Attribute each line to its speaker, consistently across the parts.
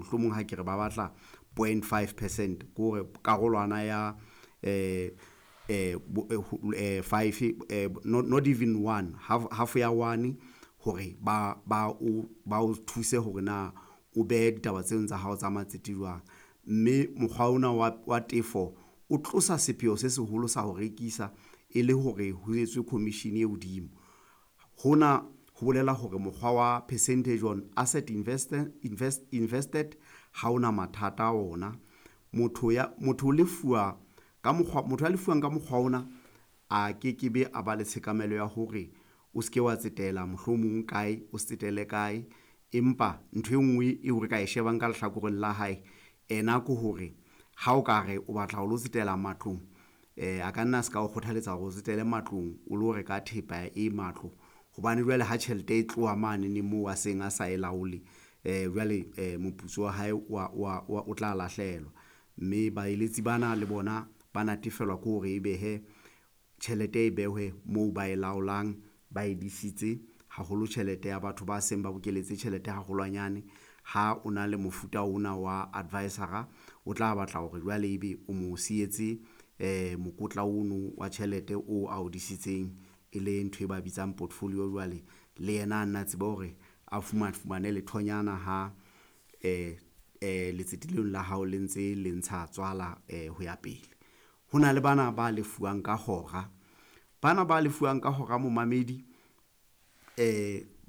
Speaker 1: Mohlomong ha ke re ba batla 0.5 percent, ke hore karolwana ya five, not even one half, half ya one, hore ba o thuse hore na o behe ditaba tseno tsa hao tsa matsete jwang. Mme mokgwa ona wa tefo o tlosa sepheo se seholo sa ho rekisa e le hore ho etswe commission e hodimo. Hona ho bolela hore mokgwa wa percentage on asset invested ha ona mathata a ona. Motho o lefuwa ka mokgwa, motho a lefuwang ka mokgwa ona a ke ke be a ba le tshekamelo ya hore o seke wa tsetela mohlomong kae, o se tsetele kae. Empa ntho e nngwe eo re ka e shebang ka lehlakoreng la hae ena ke hore ha o ka re o batla ho lo tsetela matlong, a ka nna a se ka o kgothaletsa hore o tsetele matlong, o lo reka thepa e matlo, hobane jwale ha tjhelete e tloha mane moo a seng a sa e laole, jwale moputso wa hae o tla lahlehelwa. Mme baeletsi bana le bona ba natefelwa ke hore ebe hee tjhelete e behwe moo ba e laolang, ba e disitse haholo tjhelete ya batho ba seng ba bokeletse tjhelete haholwanyane. Ha o na le mofuta ona wa advisor-a, o tla batla hore jwale ebe o mo sietse mokotla ono wa tjhelete o ao disitseng e le ntho e ba bitsang portfolio jwale le yena a nna tsebe hore a fumane lethonyana ha letsete leno la hao le ntse le ntsha tswala ho ya pele. Ho na le bana ba lefuwang ka hora, bana ba lefuwang ka hora momamedi,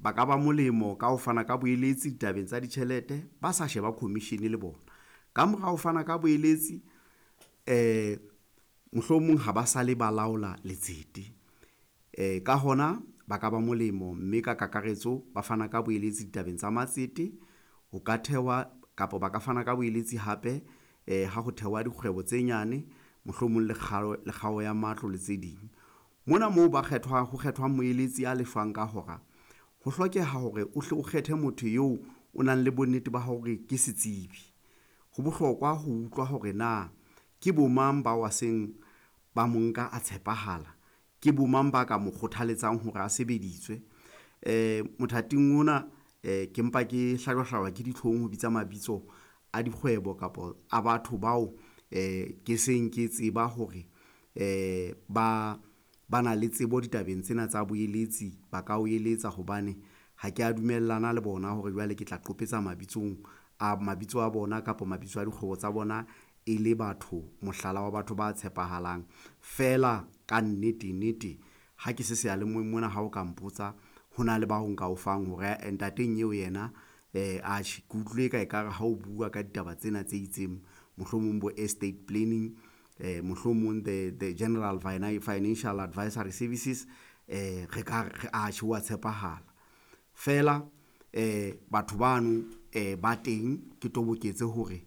Speaker 1: ba ka ba molemo ka ho fana ka boeletsi ditabeng tsa ditjhelete, ba sa sheba commission le bona. Ka mora ho fana ka boeletsi, mohlomong ha ba sale ba laola letsete, ka hona ba ka ba molemo, mme ka kakaretso ba fana ka boeletsi ditabeng tsa matsete, ho ka thehwa kapa ba ka fana ka boeletsi hape ha ho thehwa dikgwebo tse nyane, mohlomong le kgao ya matlo le tse ding. Mona moo ba kgethwang, ho kgethwang moeletsi a lefang ka hora, ho hlokeha hore o hle o kgethe motho eo o nang le bonnete ba hore ke setsibi. Ho bohlokwa ho utlwa hore na ke bo mang bao a seng ba mo nka a tshepahala, ke bo mang ba ka mo kgothaletsang hore a sebediswe. Mothating ona ke mpa ke hlajwa ke ditlhong ho bitsa mabitso a dikgwebo kapa a batho bao ke seng ke tseba hore ba na le tsebo ditabeng tsena tsa boeletsi, ba ka o eletsa hobane ha ke a dumellana le bona hore jwale ke tla qopetsa mabitso a bona kapa mabitso a dikgwebo tsa bona e le batho, mohlala wa batho ba tshepahalang. Feela ka nnete nnete, ha ke se seyalemoyeng mona ha o ka mpotsa ho na le bao nka o fang hore ae ntate nyeo yena atjhe ke utlwile eka ekare ha o bua ka ditaba tsena tse itseng, mohlomong bo estate planning, mohlomong the general financial advisory services, re ka re atjhe wa tshepahala. Feela batho bano ba teng ke toboketse hore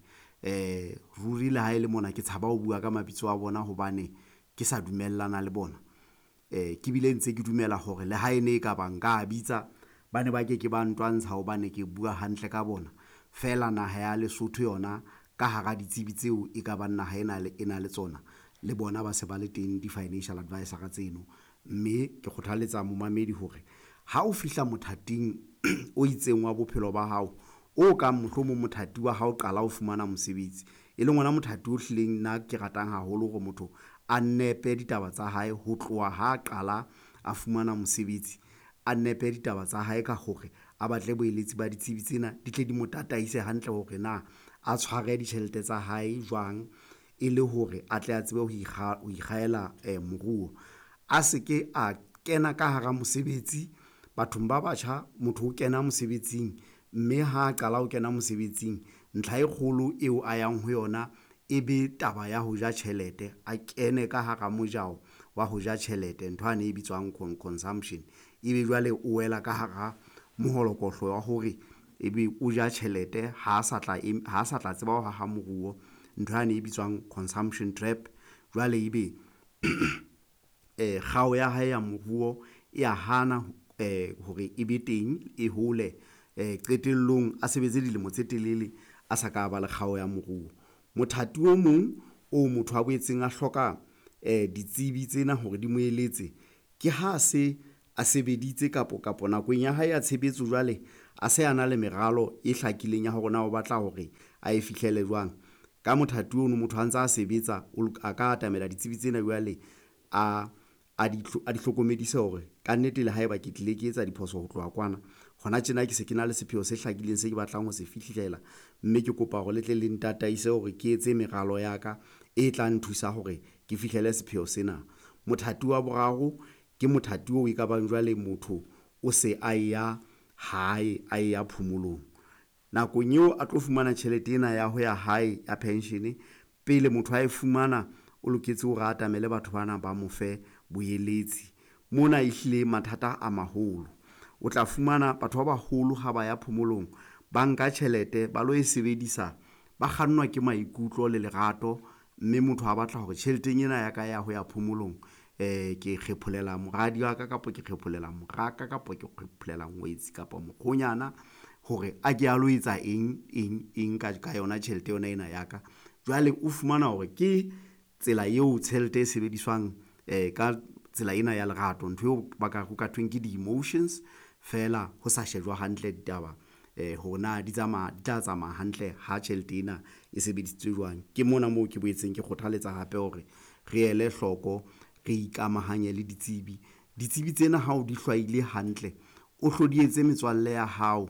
Speaker 1: ruri le ha e le mona ke tshaba ho bua ka mabitso a bona hobane ke sa dumellana le bona. Ke bile ntse ke dumela hore le ha e ne e ka ba nka bitsa, ba ne ba ke ke ba ntwantsha hobane ke bua hantle ka bona. Feela naha ya Lesotho yona ka hara ditsebi tseo e ka bang naha ena e na le tsona, le bona ba se ba le teng di-financial advisor-a tseno, mme ke kgothaletsa momamedi hore ha o fihla mothating o itseng wa bophelo ba hao, o kang mohlomong mothati wa hao qala ho fumana mosebetsi, e leng ona mothati o hlileng nna ke ratang haholo hore motho a nepe ditaba tsa hae ho tloha ha qala a fumana mosebetsi, a nepe ditaba tsa hae ka hore a batle boeletsi ba ditsebi tsena di tle di mo tataise hantle hore na a tshware ditjhelete tsa hae jwang e le hore a tle a tsebe ho ikgahela moruo. A se ke a kena ka hara mosebetsi bathong ba batjha, motho o kena mosebetsing, mme ha qala ho kena mosebetsing, ntlha e kgolo eo a yang ho yona e be taba ya ho ja tjhelete, a kene ka hara mojao wa ho ja tjhelete ntho yane e bitswang consumption. Ebe jwale o wela ka hara moholokotlo wa hore ebe o ja tjhelete ha sa tla ha sa tla tseba ho haha moruo ntho yane e bitswang consumption trap. Jwale ebe kgao ya hae ya moruo e ya hana hore e be teng e hole qetellong a sebetse dilemo tse telele a sa ka ba le kgao ya moruo. Mothati o mong o motho a boetseng a hloka ditsebi tsena hore di mo eletse ke ha se a sebeditse kapo nakong ya hae ya tshebetso jwale. A se a na le meralo e hlakileng ya hore na o batla hore a e fihlele jwang. Ka mothati ono motho a ntsa a sebetsa, a ka atamela ditsebi tsena jwale a di hlokomedise hore kannete le haeba ke tlile ke etsa diphoso ho tloha kwana, hona tjena ke se ke na le sepheo se hlakileng se ke batlang ho se fihlela, mme ke kopa hore le tle le ntataise hore ke etse meralo ya ka e tla nthusa hore ke fihlele sepheo sena. Mothati wa boraro ke mothati oo e ka bang jwale motho o se a ya hae, a ya phomolong. Nakong eo a tlo fumana tjhelete ena ya ho ya hae ya pension, pele motho ae fumana, o loketse hore a atamele batho bana ba mo fe boeletsi. Mona ehlile mathata a maholo, o tla fumana batho ba baholo ha ba ya phomolong, ba nka tjhelete ba lo e sebedisa, ba kgannwa ke maikutlo le lerato, mme motho a batla hore tjheleteng ena ya ka ya ho ya phomolong ke kgepholela moradi wa ka, kapa ke kgepholela moraka, kapa ke kgepholela ngwetsi kapa mokgonyana hore a ke a lo etsa eng, eng, eng ka yona tjhelete yona ena ya ka. Jwale o fumana hore ke tsela eo tjhelete e sebediswang ka tsela ena ya lerato, ntho eo ba ka ho ka thweng ke di-emotions feela ho sa shejwa hantle ditaba hore na di tla tsamaya hantle ha tjhelete ena e sebedisitswe jwang. Ke mona moo ke boetseng ke kgothaletsa hape hore re ele hloko, re ikamahanye le ditsebi. Ditsebi tsena ha o di hlwaile hantle, o hlo di etse metswalle ya hao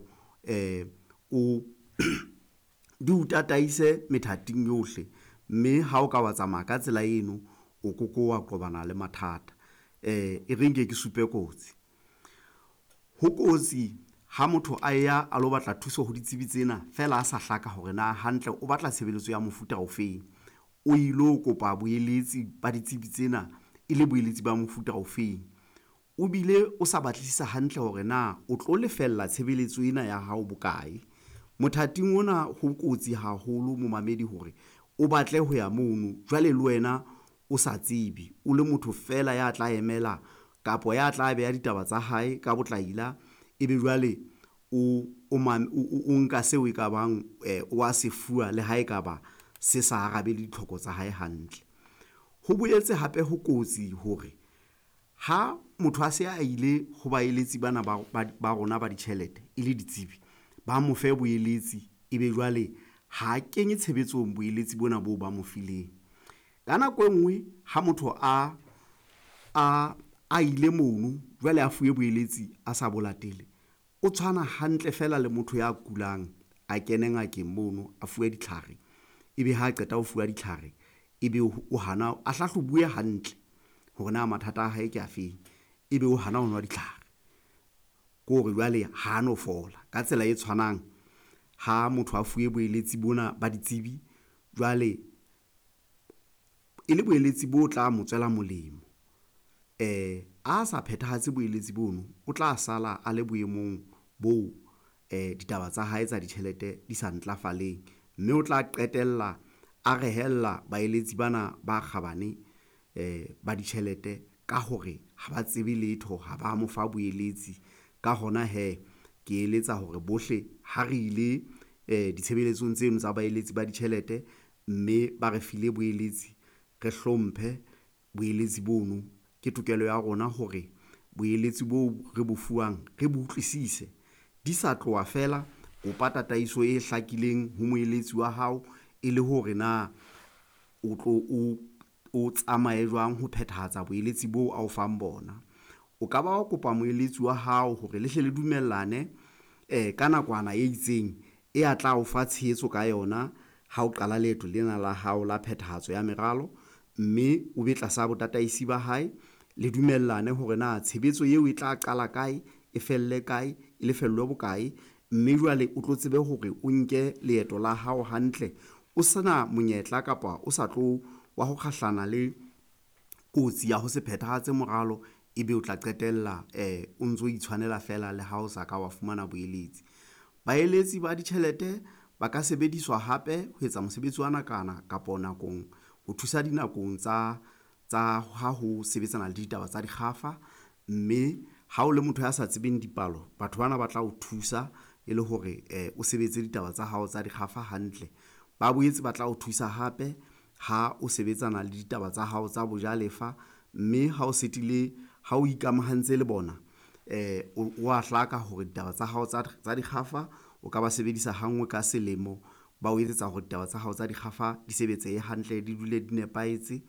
Speaker 1: di o tataise methating yohle, mme ha o ka wa tsamaya ka tsela eno, o ko ko wa qobana le mathata. E re nke ke supe kotsi, ho kotsi ha motho a ya a lo batla thuso ho ditsebi tsena feela a sa hlaka hore na hantle o batla tshebeletso ya mofuta ofeng, o ilo kopa boeletsi ba ditsebi tsena e le boeletsi ba mofuta ofeng, o bile o sa batlisisa hantle hore na o tlo lefella tshebeletso ena ya hao bokae. Mothating ona ho kotsi haholo momamedi hore o batle ho ya mono jwale le wena o sa tsebe, o le motho fela ya tla emela kapa ya tla beha ditaba tsa hae ka botlaila, ebe jwale o nka seo e ka bang wa se fuwa le ha ekaba se sa arabele ditlhoko tsa hae hantle. Ho boetse hape ho kotsi hore ha motho a se a ile ho baeletsi bana ba rona ba ditjhelete e le ditsebi, ba mo fe boeletsi ebe jwale ha kenye tshebetsong boeletsi bona boo ba mo fileng. Ka nako e nngwe ha motho a ile mono jwale a fuwe boeletsi a sa bo latele, o tshwana hantle fela le motho ya kulang a kene ngakeng mono a fuwe ditlhare, ebe ha qeta ho fuwa ditlhare, ebe o hana a hlahlobuwe hantle hore na mathata a hae ke afeng, ebe o hana ho nwa ditlhare, ke hore jwale ha no fola. Ka tsela e tshwanang ha motho a fuwe boeletsi bona ba ditsebi jwale e le boeletsi bo tla mo tswela molemo, a sa phethahatse boeletsi bono, o tla sala a le boemong boo ditaba tsa hae tsa ditjhelete di sa ntlafaleng, mme o tla qetella a rehella baeletsi bana ba kgabane ba ditjhelete ka hore ha ba tsebe letho, ha ba mo fa boeletsi. Ka hona hee, ke eletsa hore bohle ha re ile ditshebeletsong tseno tsa baeletsi ba ditjhelete, mme ba re file boeletsi, re hlomphe boeletsi bono. Ke tokelo ya rona hore boeletsi boo re bo fuwang re bo utlwisise, di sa tloha feela kopa tataiso e hlakileng ho moeletsi wa hao e le hore na o tlo o tsamaye jwang ho phethahatsa boeletsi boo a o fang bona. O ka ba wa kopa moeletsi wa hao hore le hle le dumellane ka nakwana e itseng e a tla o fa tshehetso ka yona ha o qala leeto lena la hao la phethahatso ya meralo, mme o be tlasa botataisi ba hae, le dumellane hore na tshebetso eo e tla qala kae, e felle kae, e lefellwe bokae, mme jwale o tlo tsebe hore o nke leeto la hao hantle, o sena monyetla kapa o sa tlo wa ho kgahlana le kotsi ya ho se phethahatse moralo, ebe o tla qetella o ntso itshwanela feela le ha o sa ka wa fumana boeletsi. Baeletsi ba ditjhelete ba ka sebediswa hape ho etsa mosebetsi wa nakwana kapa nakong ho thusa dinakong tsa ha ho sebetsana le ditaba tsa dikgafa, mme ha o le motho ya sa tsebeng dipalo, batho bana ba tla o thusa e le hore o sebetse ditaba tsa hao tsa dikgafa hantle. Ba boetse ba tla o thusa hape ha o sebetsana le ditaba tsa hao tsa bojalefa, mme ha o setile ha o ikamahantse le bona. O a hlaka hore ditaba tsa hao tsa dikgafa o ka ba sebedisa ha nngwe ka selemo, ba o etsetsa hore ditaba tsa hao tsa dikgafa di sebetsehe hantle, di dule di nepahetse.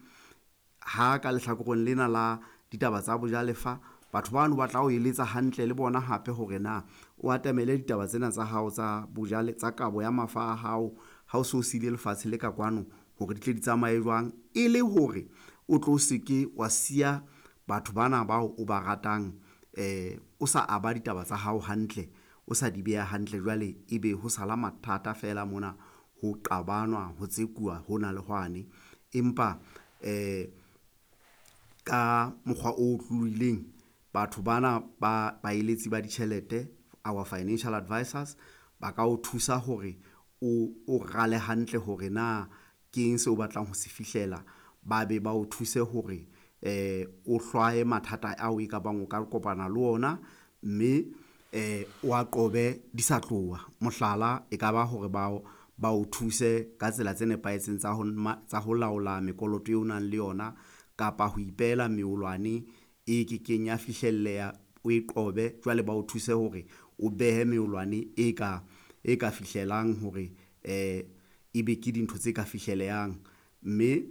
Speaker 1: Ha ka lehlakoreng lena la ditaba tsa bojalefa, batho bano ba tla o eletsa hantle le bona hape hore na o atamele ditaba tsena tsa hao tsa tsa kabo ya mafa a hao ha o so siile lefatshe le ka kwano hore di tle di tsamaye jwang, e le hore o tlo se ke wa siya batho bana bao o ba ratang o sa aba ditaba tsa hao hantle, o sa di beha hantle jwale ebe ho sala mathata feela mona ho qabanwa, ho tsekuwa hona le hwane. Empa ka mokgwa o otlolohileng, batho bana ba baeletsi ba ditjhelete, our financial advisors ba ka o thusa hore o rale hantle hore na ke eng seo o batlang ho se fihlela, ba be ba o thuse hore o hlwaye mathata ao e ka bang o ka kopana le ona, mme wa qobe di sa tloha. Mohlala, e ka ba hore ba o thuse ka tsela tse nepahetseng tsa ho laola mekoloto eo o nang le yona, kapa ho ipehela meolwane e kekeng ya fihlelleha o e qobe, jwale ba o thuse hore o behe meolwane e ka fihlelang hore ebe ke dintho tse ka fihlelehang, mme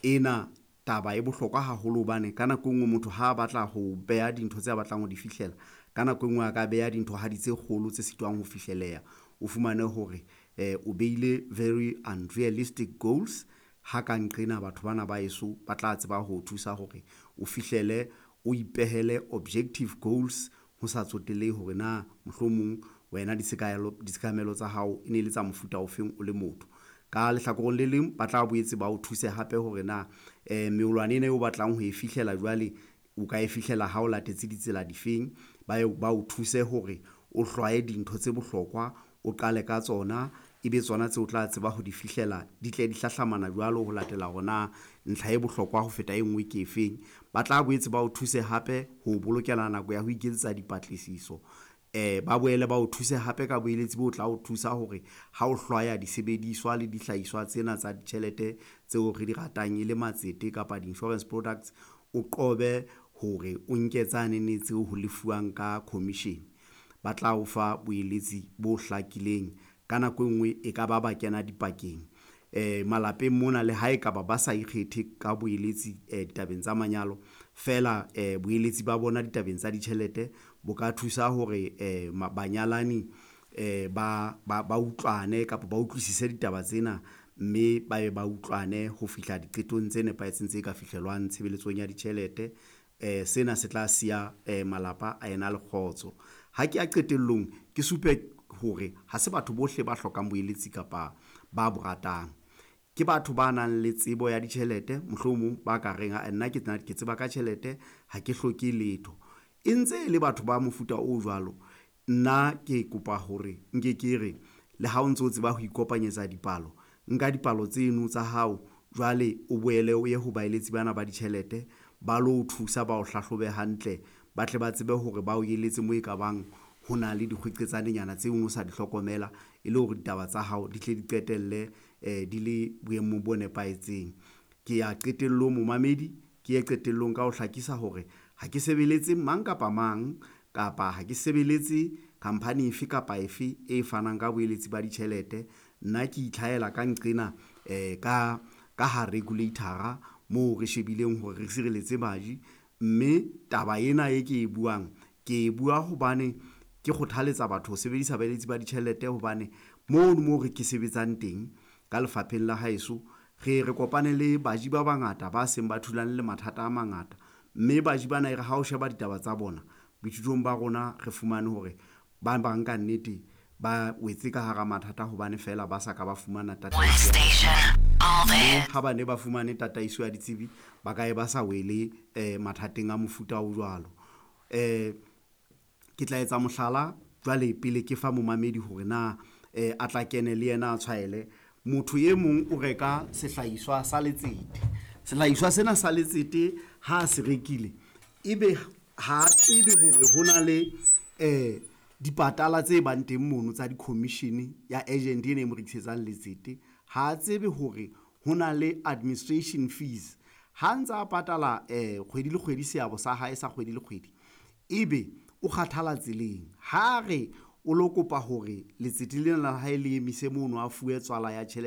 Speaker 1: ena taba e bohlokwa haholo hobane ka nako e nngwe motho ha a batla ho beha dintho tse a batlang ho di fihlela, ka nako e nngwe a ka beha dithohadi tse kgolo tse sitwang ho fihlelleha. O fumane hore o behile very unrealistic goals ha ka nqena batho bana ba heso ba tla tseba ho o thusa hore o fihlele, o ipehele objective goals ho sa tsotellehe hore na mohlomong wena ditshekamelo tsa hao e ne le tsa mofuta ofeng o le motho. Ka lehlakoreng le leng, ba tla boetse ba o thuse hape hore na meolwane ena eo o batlang ho e fihlela jwale, o ka e fihlela ha o latetse ditsela difeng, ba o thuse hore o hlwaye dintho tse bohlokwa, o qale ka tsona, ebe tsona tseo o tla tseba ho di fihlela di tle di hlahlamana jwalo ho latela hore na ntlha e bohlokwa ho feta e ngwe ke efeng. Ba tla boetse ba o thuse hape ho bolokela nako ya ho iketsetsa dipatlisiso, ba boele ba o thuse hape ka boeletsi bo tla o thusa hore ha o hlwaya disebediswa le dihlahiswa tsena tsa ditjhelete tseo re di ratang e le matsete kapa di-insurance products, o qobe hore o nke tsanene tseo ho lefuwang ka commission. Ba tla o fa boeletsi bo hlakileng ka nako e nngwe e ka ba ba kena dipakeng malapeng mona le ha ekaba ba sa ikgethe ka boeletsi ditabeng tsa manyalo feela boeletsi ba bona ditabeng tsa ditjhelete bo ka thusa hore banyalani ba utlwane kapa ba utlwisise ditaba tsena, mme ba ye ba utlwane ho fihla diqetong tse nepahetseng tse ka fihlelwang tshebeletsong ya ditjhelete. Sena se tla siya malapa a ena le kgotso. Ha ke ya qetellong, ke supe hore ha se batho bohle ba hlokang boeletsi kapa ba bo ratang, ke batho ba nang le tsebo ya ditjhelete, mohlomong ba ka reng ae nna ke tseba ka tjhelete ha ke hloke letho, e ntse e le batho ba mofuta o jwalo. Nna ke kopa hore nke ke re le ha o ntso tseba ho ikopanyetsa dipalo, nka dipalo tseno tsa hao jwale o boele o ye ho baeletsi bana ba ditjhelete ba lo thusa bao hlahlobe hantle, ba tle ba tsebe hore ba o eletse mo e ka bang ho na le dikgweqetsaneng tseo o sa di hlokomela e le hore ditaba tsa hao di tle di qetelle di le boemong bo nepahetseng. Ke ya qetellong momamedi ke ye qetellong ka ho hlakisa hore ha ke sebeletse mang kapa mang kapa ha ke sebeletse khampani efe kapa efe e fanang ka boeletsi ba ditjhelete. Nna ke itlhahela ka nqena ka ha regulator-a moo re shebileng hore re sireletse baji, mme taba ena e ke e buang, ke e bua hobane ke kgothaletsa batho ho sebedisa baeletsi ba ditjhelete hobane mono mo re ke sebetsang teng ka lefapheng la haeso, re ye re kopane le baji ba bangata ba seng ba thulane le mathata a mangata, mme baji bana e re ha o sheba ditaba tsa bona boithutong ba rona, re fumane hore ba bang ka nnete ba wetse ka hara mathata hobane fela ba sa ka ba fumana tataiso, ha ba ne ba fumane tataiso ya ditsebi, ba ka e ba sa wele mathateng a mofuta o jwalo. Ke tla etsa mohlala jwale pele ke fa momamedi hore na a tla kene le yena a tshwaele. Motho e mong o reka sehlahiswa sa letsete, sehlahiswa sena sa letsete ha se rekile, ebe ha tsebe hore ho na le dipatala tse bang teng mono tsa di-commission ya agent ena e mo rekisetsang letsete. Ha tsebe hore ho na le administration fees ha ntsa patala kgwedi le kgwedi, seabo sa hae sa kgwedi le kgwedi, ebe. o kgathala tseleng. Ha re o lo kopa hore letsete lena la hae le emise mono, a fuwe tswala ya tjhelete.